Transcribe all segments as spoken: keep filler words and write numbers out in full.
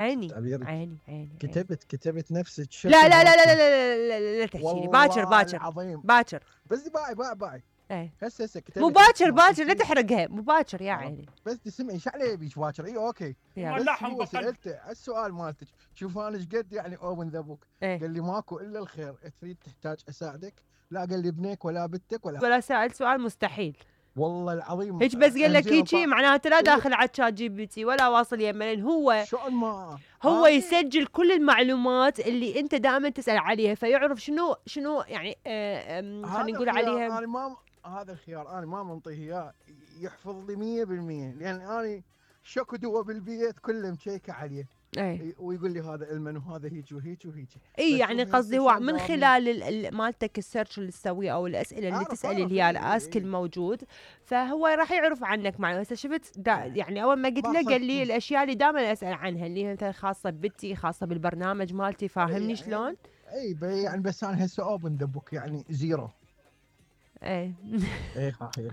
عيني تعبيرك عيني عيني كتبت كتبت نفسك لا لا لا لا لا لا لا لا, لا تحكي لي باكر والله باكر العظيم باكر بس باعي باعي باعي ايه هسه هسه كتبت مو باكر اسمه باكر لا اسمه. تحرقها مو باكر يا عرفت. عيني. بس تسمعي ايش عليه يبيك باكر؟ اي اوكي يلا. بس ملاحم هو بقل. سالته السؤال مالتك شوف انا ايش قد يعني اوبن ذا بوك. ايه قال لي ماكو الا الخير، تريد تحتاج اساعدك؟ لا قال لي ابنك ولا بنتك ولا ولا سأل سؤال مستحيل والله العظيم هيك بس قال لك أمزين هيجي طا- معناته لا إيه. داخل على تشات جي بي تي ولا واصل يمه، لان هو شلون ما هو أنا- يسجل كل المعلومات اللي انت دائما تسال عليها، فيعرف شنو شنو يعني آه، آم، هذا خلينا نقول الخيار عليها. انا ما هذا الخيار انا ما منطيه اياه يحفظ لي مية بالمية، لان انا شكو دوا بالبيت كله مشيكه عليه. ايه ويقول لي هذا المن وهذا هيك وهيك وهيك. اي بس يعني شوفي قصدي هسه هو شلون من دامني. خلال ال- ال- مالتك السيرش اللي تسويه او الاسئله اللي أعرف- تسالي أعرف، اللي هي إيه، الاسك إيه. الموجود، فهو راح يعرف عنك معلومات. هسه شفت دا يعني اول ما قلت له باخذ قال لي الاشياء اللي دائما اسال عنها اللي هي مثلا خاصه ببتي خاصه بالبرنامج مالتي، فاهمني يعني شلون؟ اي ب- يعني بس انا هسه اوبن ذا بوك يعني زيرو. ايه اي صحيح.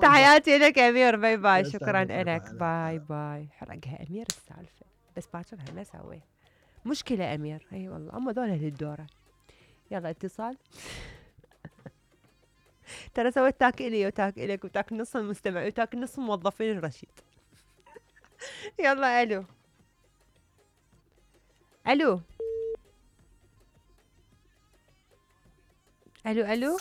تحياتي لك امير، باي باي، يا شكرا سلام، باي لك، باي. باي باي. حرقها امير السالفه بس باكر ما سوي مشكله امير. اي والله اما ذولا للدوره. يلا اتصال. ترى سويت تاك الي وتاك الك وتاك نص المستمع وتاك نص موظفين الرشيد. يلا الو الو الو الو